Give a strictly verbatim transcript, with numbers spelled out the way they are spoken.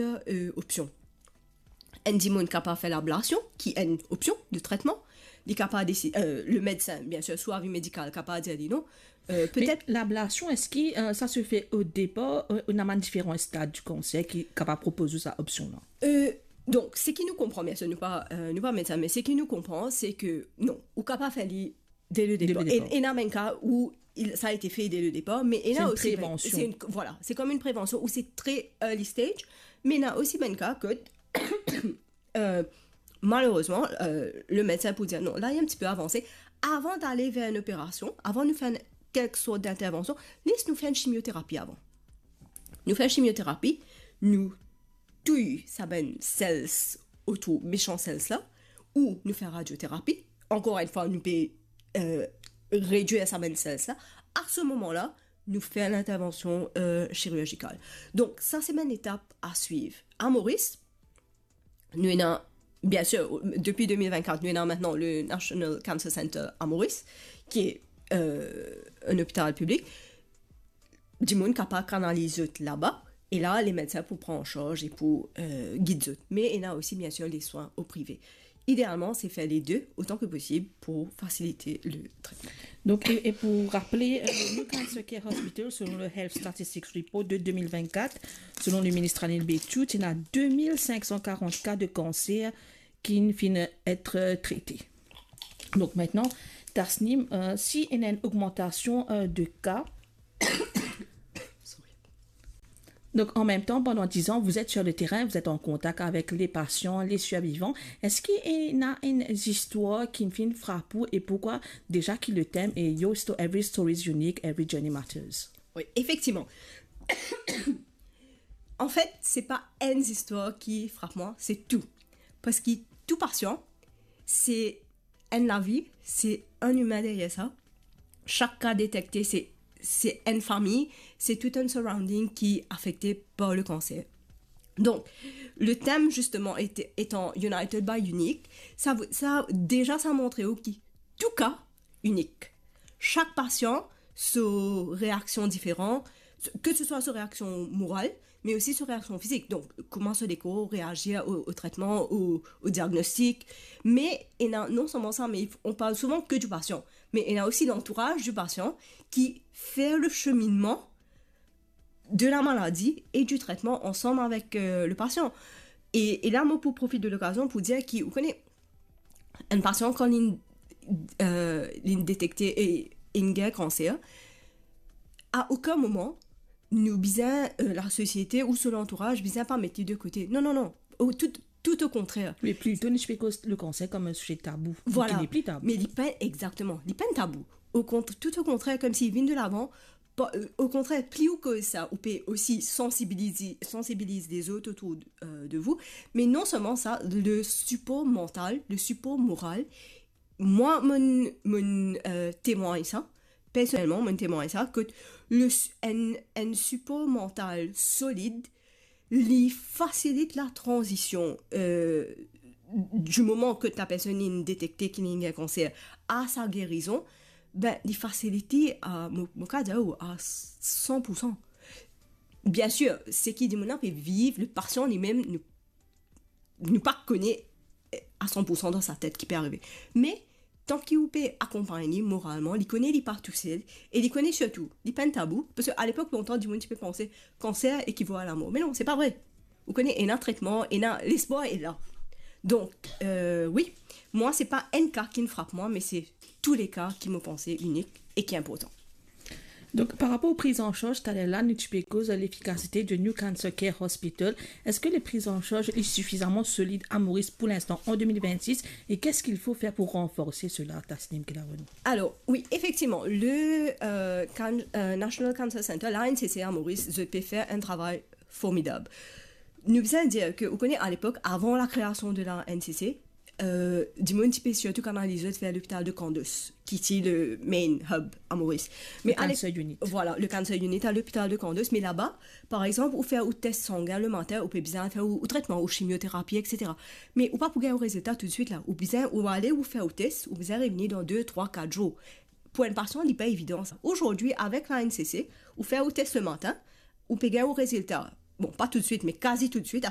euh, opsion. Enn dimoun kapav fer lablasion, ki enn opsion de tretman. Li kapav desi-, euh, le medsin, bien sir, sou avi medikal, kapav dir li non. Euh, Me petet lablasion, eski, euh, sa se fer o depar, euh, ou ena bann diferan stad di kanser ki kapav propoz ou sa opsion la? Euh, donk, seki nou konpran, bien sir, nou pa, euh, nou pa medsin, me seki nou konpran, se ke non, ou kapav fer li dès le Dès le départ. Départ. Et, et ena bann ka où il, ça a été fait dès le départ, mais ena osi, c'est une prévention. C'est une, voilà, c'est comme une prévention où c'est très early stage, mais ena osi bann ka kot, euh, malerezman, euh, le medsin pou dir non, la li enn tipe avanse. Avan d'aller vers une opération, avan nou fer enn, quelque sorte d'intervention, les nou fer enn chimioterapi avan. Nou fer chimioterapi, nou touy sa bann cells otour, méchant cells la, ou nou fer radioterapi. Ankor enn fwa, nou pe, euh, redwir sa bann cells la. A se moman la, nou fer lintervansion, euh, chirurgikal. Donk, sa se bann etap a swiv. A Moris, nou ena, bien sir, depi de mil vennkat, nou ena aster le National Cancer Center a Moris, ki, euh, enn lopital piblik. Dimoun kapav kanaliz zot laba, e la, le medsin pou pran an sarz e pou, euh, gid zot. Me ena osi, bien sir, les soins au privé. Idealman, se fer les deux autant que possible pour faciliter le traitement. Donc, et, et pour rappeler, euh, le New Cancer Care Hospital, selon le Health Statistics Report de deux mille vingt-quatre, selon le ministre Anil Bechtouch, il y a deux mille cinq cent quarante cas de cancer qui viennent être traités. Donc maintenant, Tasnim, euh, si il y a une augmentation, euh, de cas, donc, en même temps, pendant dix ans, vous êtes sur le terrain, vous êtes en contact avec les patients, les survivants. Eski ena enn zistwar ki finn frap ou, e poukwa? Deza ki le tem e your sto-, every story is unique, every journey matters. Oui, effectivement. En fait, c'est pas enn zistwar ki frap mwa, c'est tout. Parski tou patient, se enn lavi, se enn imin deryer sa. Sak ka detekte, se, se enn fami, se tout enn surrounding ki afekte par le cancer. Donc, le thème, justement, était, étant United by Unique, ça, ça, déjà, ça montre ki tou ka inik. Sak patient, so reaksion diferan, ke se swa so reaksion moral, me osi so reaksion fizik. Donk, kouma so lekor reazir o, o tretman, o, o diagnostik. Me ena, non selman sa, me on parle souvent que du patient, me ena osi lantouraz di pasian ki fer le cheminement de la maladie et du traitement ensemble avec, euh, le patient. E, e la, mo pou profit de lokazion pou dir ki, ou kone, enn pasian, kan li, euh, li detekte e, e li gagn kanser, a okenn moman, nou bizin, euh, lasosiete ou so lantouraz bizin pa met li de kote. Non, non, non. O, tout, tout o kontrer. Me plito, nou ti pe koz le kanser kom enn size tabou. Voilà. Ki nepli tabou. Me li pa, exactement, li pa enn tabou. O kont-, tout o kontrer, komsi li vinn de lavan, pa, euh, o kontrer, pli ou koz sa, ou pe osi sansibiliz, sansibiliz lezot otour, euh, de vous. Me non selman sa, le sipor mantal, le sipor moral, mwa, mo, mo, euh, temwagn sa, personelman, mo temwagn sa, ke le s-, enn, enn sipor mantal solid, li fasilit la tranzision, euh, du moment que ta personne est détectée qu'il y a un cancer à sa guérison, ben, li fasilit li a, mo, mo ka dir ou, a san pou san. Bien sûr, seki dimoun la pe viv, le patient li mem, nou, nou pa kone a san pou san dan sa tet ki pe arive. Me, tanki ou pe akonpagn li moralman, li kone li pa tousel, e li kone sirtou, li pa enn tabou, parski a lepok lontan, dimoun ti pe panse, kanser ekival a lamor. Me non, se pa vre. Ou kone, ena tretman, ena lespwar, e la. Donk, euh, wi, mwa, se pa enn ka ki frap mwa, me se tou le ka ki mo panse inik e ki inportan. Donc, par rapport aux prises en charge, taler la, nou ti pe koz lefikasite de New Cancer Care Hospital. Est-ce que les prises en charge est suffisamment solide à Maurice pour l'instant, en deux mille vingt-six, et qu'est-ce qu'il faut faire pour renforcer cela, Tasnim Kelaroni? Alors, oui, effectivement, le, euh, can-, euh, National Cancer Center, l'A N C C à Maurice, zot pe fer enn travay formidab. Nou bizin dir ke, ou kone, a lepok, avan la kreasion de la N C C, euh, dimoun ti pe sirtou kanaliz zot ver lopital de Kandos, ki ti le main hub a Moris. Me le cancer unit. Voilà, le cancer unit a lopital de Kandos. Me laba, par exanp, ou fer ou tes sangin le matin, ou pe bizin fer ou, ou tretman, ou chimioterapi, et cetera. Me ou pa pou gagn ou rezilta toutswit la. Ou bizin, ou ale, ou fer ou tes, ou bizin revini dan de, trwa, kat zour. Pou enn pasian, li pa evidan sa. Aujourd'hui, avec la N C C, ou fer ou tes le matin, ou pe gagn ou rezilta. Bon, pa toutswit, me kazi toutswit,